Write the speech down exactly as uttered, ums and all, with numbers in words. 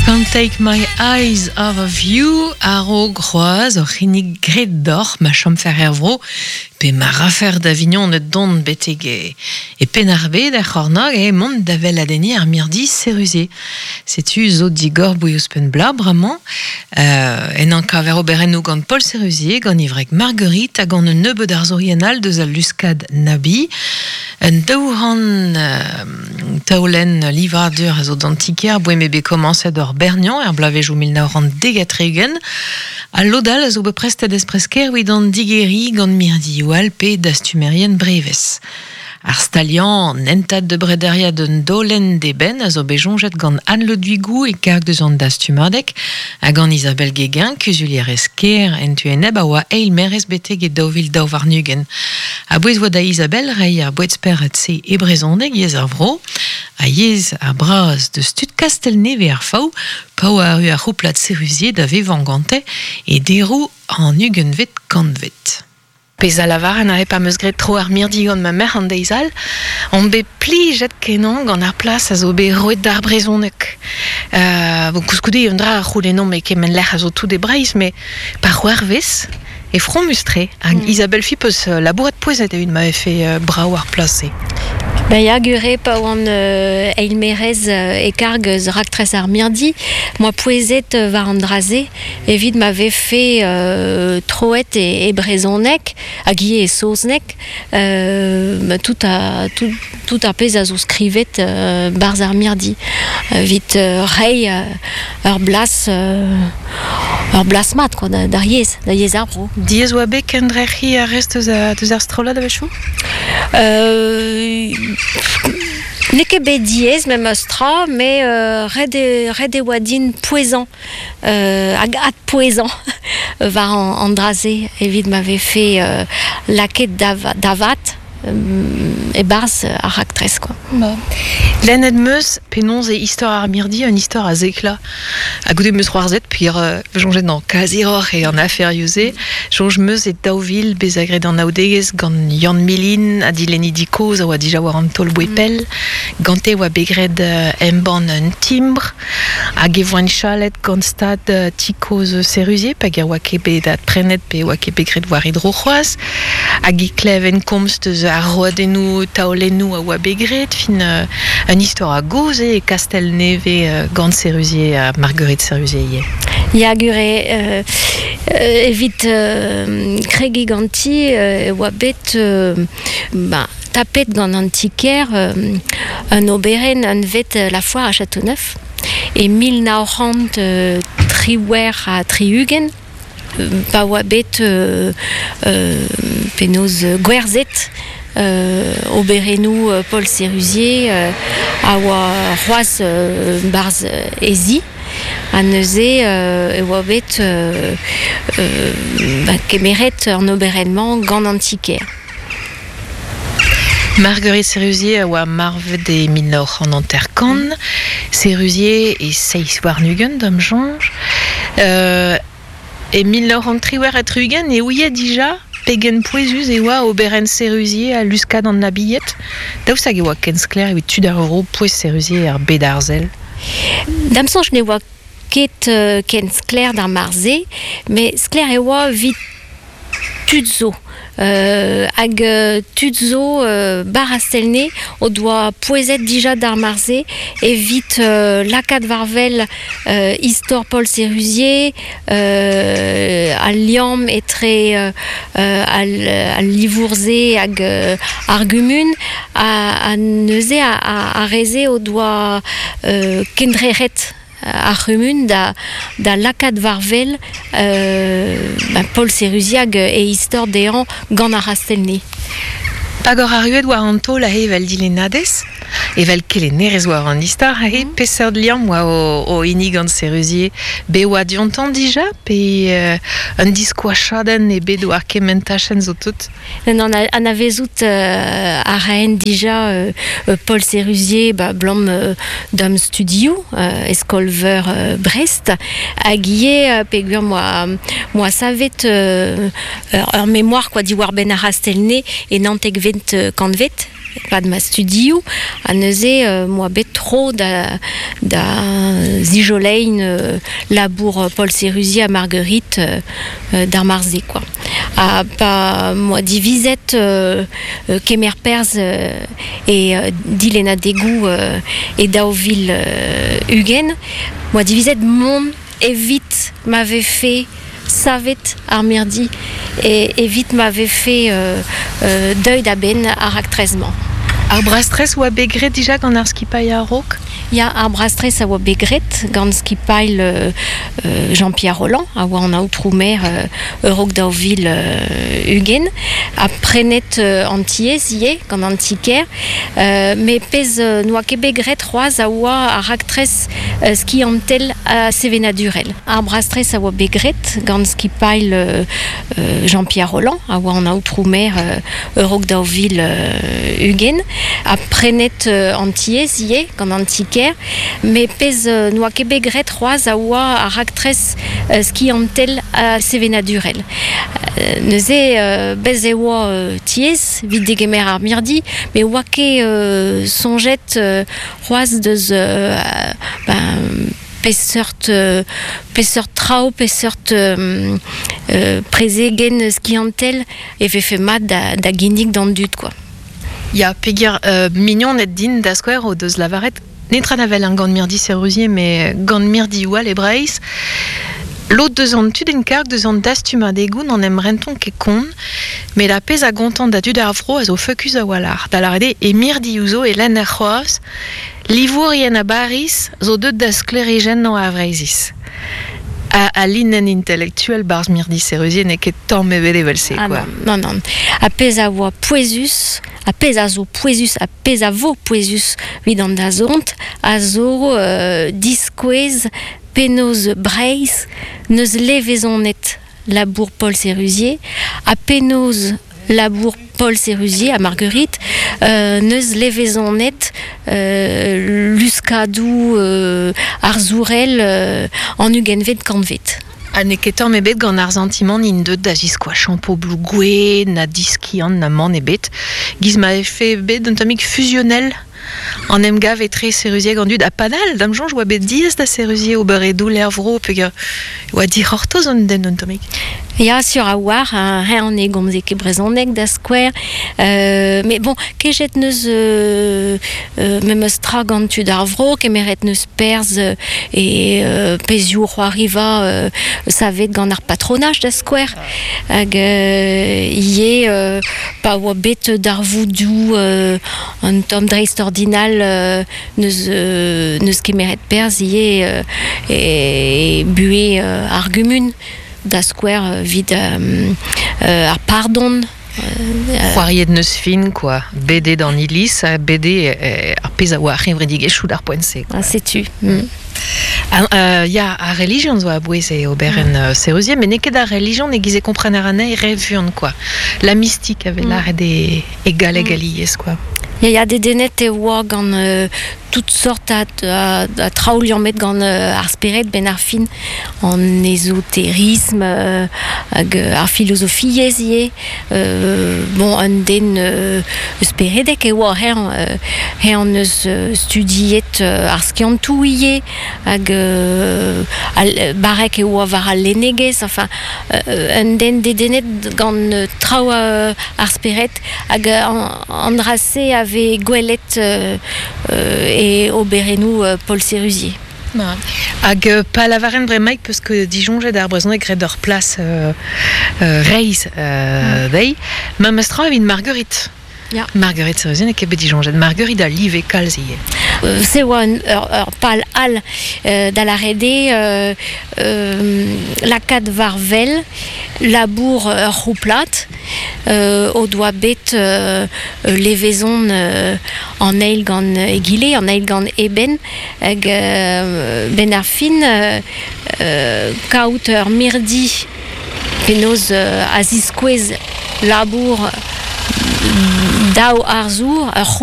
Can't take my eyes off of you a-raok c'hoazh ur c'hinnig graet deoc'h ma chomfer er vro pe ma rafer da vignoned dont betek e, e Penn-ar-Bed er c'hornôg e mont da weladenniñ ar mirdi Sérusier. Setu zo digor 'boe ouzhpenn bloaz bremañ euh, ennañ kaver oberennoù gant Paul Sérusier, gant e wreg Marguerite hag gant un nebeud arzourien all deus al luskad Nabi. Un daou c'hant euh, taolenn livadur a zo d'an ti-kêr 'boe m'eo bet komañset ur berniañ er bloavezhioù mil nav c'hant dek ha tri-ugent. Al lod all a zo bet prestet espresker evit an digeriñ gant mirdioù all pe dastumerien brevez. Ar staliañ an hentad de brederiad un daolenn d'eben a zo bet soñjet gant Anne Le Duigou e karg deus an dastumadeg hag gant Isabelle Guéguin, kuzulierez kêr en tu enep a oa eil maerez betek e daou vil daou warn-ugent. A-bouez oa da Isabelle reiñ ar boued-spered-se e brezhoneg yezh ar vro, ha yezh ar braz deus tud Kastell-Nevez ar Faou, pa oa arru ar c'houplad Sérusier da vevañ gante e deroù an ugentvet kantved. Pezh a lavaren aze pa 'm eus graet tro ar mirdi gant ma merc'h an deiz all, on bet plijet kenañ gant ar plas a zo bet roet d'ar brezhoneg. Euh, bon, koulskoude un dra a c'houlennomp e kement lec'h a zo tout e Breizh, met pa c'hoarvez e fromus-tre. Hag Mm. Isabelle Philippe eus labourat pouezet evit ma vefe euh, brav ar plas-se. Ben ya, gure pa oan euh, eilmaerez euh, e karg eus raktres ar mirdi, 'moa pouezet euh, war an dra-se evit ma vefe euh, troet e, e brezhoneg hag ivez e saozneg euh, ma tout a, tout, tout ar pezh a zo skrivet euh, 'barzh ar mirdi. Evit euh, reiñ euh, ur blas euh, ur blas mat quoi, da, d'ar yezh, da yezh ar vro. Diaes oa bet kendrec'hiñ ar rest eus, a, deus ar strollad a-wechoù? Euh, n'eo ket bet diaes memes tra, met euh, ret eo, ret e oa din pouezañ, euh, hag adpouezañ war an, an dra-se evit ma vefe euh, lakaet da, da vat euh, e-barzh ar raktres quoi. Ba. Lennet 'm eus penaos eo istor ar mirdi un istor a zekla. Ha goude 'm eus c'hoarzhet peogwir euh, soñjet non, kaziroc'h eo an aferioù-se. Soñj 'm eus e daou vil bezañ graet anaoudegezh gant Yann Milin ha dilennidi kozh a oa dija war an taol 'boe pell. Gante oa bet graet euh, embann un timbr hag e voent chalet gant stad euh, ti kozh Sérusier pa oa ket bet adprenet pe oa ket bet graet war e dro c'hoazh. Hag e kleven komz deus ar roadennoù taolennoù a oa bet graet fin euh, un istor a gozh eo e Kastell-Nevez euh, gant Sérusier ha Marguerite Sérusier ivez. Ya gure euh, euh, evit euh, kregiñ ganti euh, e oa bet euh, ba, tapet gant an ti-kêr euh, un oberenn anvet euh, La Foire à Châteauneuf e mil nav c'hant euh, triwec'h ha tri-ugent pa oa bet euh, euh, penaos euh, gwerzhet euh, oberennoù euh, Paul Sérusier euh, a oa c'hoazh euh, 'barzh he zi ha neuze euh, e oa bet euh, euh, ba, kemeret an oberenn-mañ gant an ti-kêr. Marguerite Sérusier a oa marvet e mil nav c'hant hanter-kant, Sérusier e seizh warn-ugent d'am soñj. Euh, e mil nav c'hant triwec'h ha tri-ugent e ouie dija pegen pouezus e oa oberenn Sérusier ha luskad an Nabied. Daoust hag e oa ken sklaer evit tud ar vro pouez Sérusier er bed arzel. D'am soñj ne oa ket euh, ken sklaer d'ar mare-se, met sklaer e oa evit tud zo. Euh, hag euh, tud zo euh, 'ba Kastell-Nevez o doa pouezet dija d'ar mare-se evit euh, lakaat war-wel euh, istor Paul Sérusier, euh, al liamm etre euh, euh, al, al livour-se hag euh, ar gumun ha, ha neuze a, a, ar re-se o doa euh, kendrec'het ar c'humun da, da lakaat war-wel euh, ba, Paul Sérusier hag e istor dezhañ gant ar C'hastell-Nevez. Hag oc'h arruet war an taol aze evel dilennadez, evel kelennerez war an istor aze, mm. peseurt liamm oa o, o hini gant Sérusier bet oa diontañ dija, pe euh, un diskoachadenn eo bet war kement tachenn zo tout? Non, anavezout euh, a raen dija euh, Paul Sérusier ba, 'blam euh, d'am studioù euh, e skol-veur euh, Brest hag ivez euh, peogwir 'moa 'moa savet euh, ur, ur mémoire quoi diwar-benn ar C'hastell-Nevez e naontekvet kantved. pad ma studioù, ha neuze euh, moa bet tro da, da zijolein euh, labour Paul Sérusier ha Marguerite euh, euh, d'ar marze, quoi. Ha pa moa divizet euh, euh, kemer perzh euh, e euh, dilennadegoù euh, e daou vil euh, ugent, moa divizet mont evit ma vefe savet ar mirdi e evit ma vefe euh, euh, deuet a-benn ar raktres-mañ. Ar brastres oa bet graet dija gant ar skipailh a-raok? Ya, ar brastres a oa bet graet gant skipailh euh, euh, Jean-Pierre Rolland, a oa an aotrou maer euh, a-raok daou vil euh, ugent, ha prenet euh, an tiez ivez gant an ti-kêr, euh, met pezh euh, n'oa ket bet graet c'hoazh a oa ar raktres euh, skiantel ha sevenadurel. Ar brastres a oa bet graet gant skipailh euh, euh, Jean-Pierre Rolland, a oa an aotrou maer euh, a-raok daou vil euh, ugent, ha prenet euh, an tiez ivez gant an ti-kêr, met pezh euh, n'oa ket bet graet c'hoazh a oa ar raktres euh, skiantel ha sevenadurel. Euh, neuze euh, bez e oa euh, tiez evit degemer ar mirdi, met oa ket euh, soñjet euh, c'hoazh deus euh, ben, peseurt euh, peseurt traoù, peseurt euh, euh, prezegenn skiantel e vefe mat da, da ginnig d'an dud, quoi. Ya, peogwir euh, mignoned din da skouer o deus lavaret netra na wel gant mirdi Sérusier, met gant mirdioù all e Breizh. Lod deus an tud en karg deus an dastumadegoù n'en em rentont ket kont, met ar pezh a gontan da dud ar vro a zo feukus a-walc'h. Da lâret eo e mirdioù zo e lenner c'hoazh, livourien a Bariz zo deuet da sklêrijennañ ar Vreizhiz. A, a linenn intelektuel barzh mirdi Sérusier n'eo ket tamm ebet evel-se, Ah quoi. non, non, non. Ar pezh a oa pouezus, ar pezh a zo pouezus, ar pezh a vo pouezus evit an dazont, a zo euh, diskouez penaos Breizh neus levezonet labour Paul Sérusier, ha penaos labour Paul Sérusier ha Marguerite euh, neus levezonet euh, luskadoù euh, arzourel euh, an ugentvet kantved. Ha n'eo ket tamm ebet gant ar santimant int deuet da ziskoachañ pobloù gouez, na diskiant, na mann ebet. Giz ma vefe bet un tammig fusionnel an emgav etre Sérusier hag an dud. Ha padal, d'am soñj oa bet diaes da Sérusier ober e doull er vro, peogwir oa dic'hortoz an den un tammig. Ya, sur a oar, hein, eñ ne gomze ket brezhoneg da skouer. Euh, met bon, kejet neus euh, euh, memes tra gant tud ar vro, kemeret neus perzh euh, e euh, pezhioù c'hoariva euh, savet gant ar patronaj da skouer. Hag euh, ivez euh, pa oa bet darvoudoù euh, un tamm dreistordinal euh, neus, euh, neus kemeret perzh ivez euh, e buhez euh, ar gumun. Da skouer euh, 'vit euh, euh, ar pardon. Euh, C'hoariet neus fin, quoi. Bet eo d'an iliz, ha bet eo euh, ar pezh a oa ar c'hevredigezhioù d'ar poent-se, quoi. Ah, setu. Mm. Ah, euh, ya, ar relijion zo a-bouez e oberenn mm. Sérusier, met n'eo ket ar relijion e-giz e komprener anezhi re vuan, quoi. La mystique a vez Mm. lâret e, e galleg Mm. alies, quoi. Ya, ya, dedennet e oa gant euh, tout sort a, a, a traoù liammet gant euh, ar spered 'benn ar fin an ezoterisme euh, hag euh, ar filozofiezh ivez. Euh, bon, un den euh, speredek e oa eñ, euh, eñ neus euh, studiet euh, ar skiantoù ivez hag euh, al, barrek e oa war al lennegezh, enfin euh, un den dedennet gant euh, traoù euh, ar spered hag euh, an, an dra-se a vez gwelet euh, euh, e oberennoù euh, Paul Sérusier. Hag euh, pa lavaren bremaik peus ket disoñjet ar brezhoneg graet ur plas euh, euh, reizh euh, dezhi, memes tra evit Marguerite. Ya. Marguerite Sérusier n'eo ket bet disoñjet. Marguerite a live kalz ivez. Euh, se oa un, ur, ur pal all euh, da lâret eo euh, euh, lakaat war wel labour ur c'houplad euh, o doa bet euh, levezon euh, an eil gant egile, an eil gant eben, hag euh, 'benn ar fin euh, euh, kaout ur mirdi penaos euh, a ziskouez labour daou arzour, ur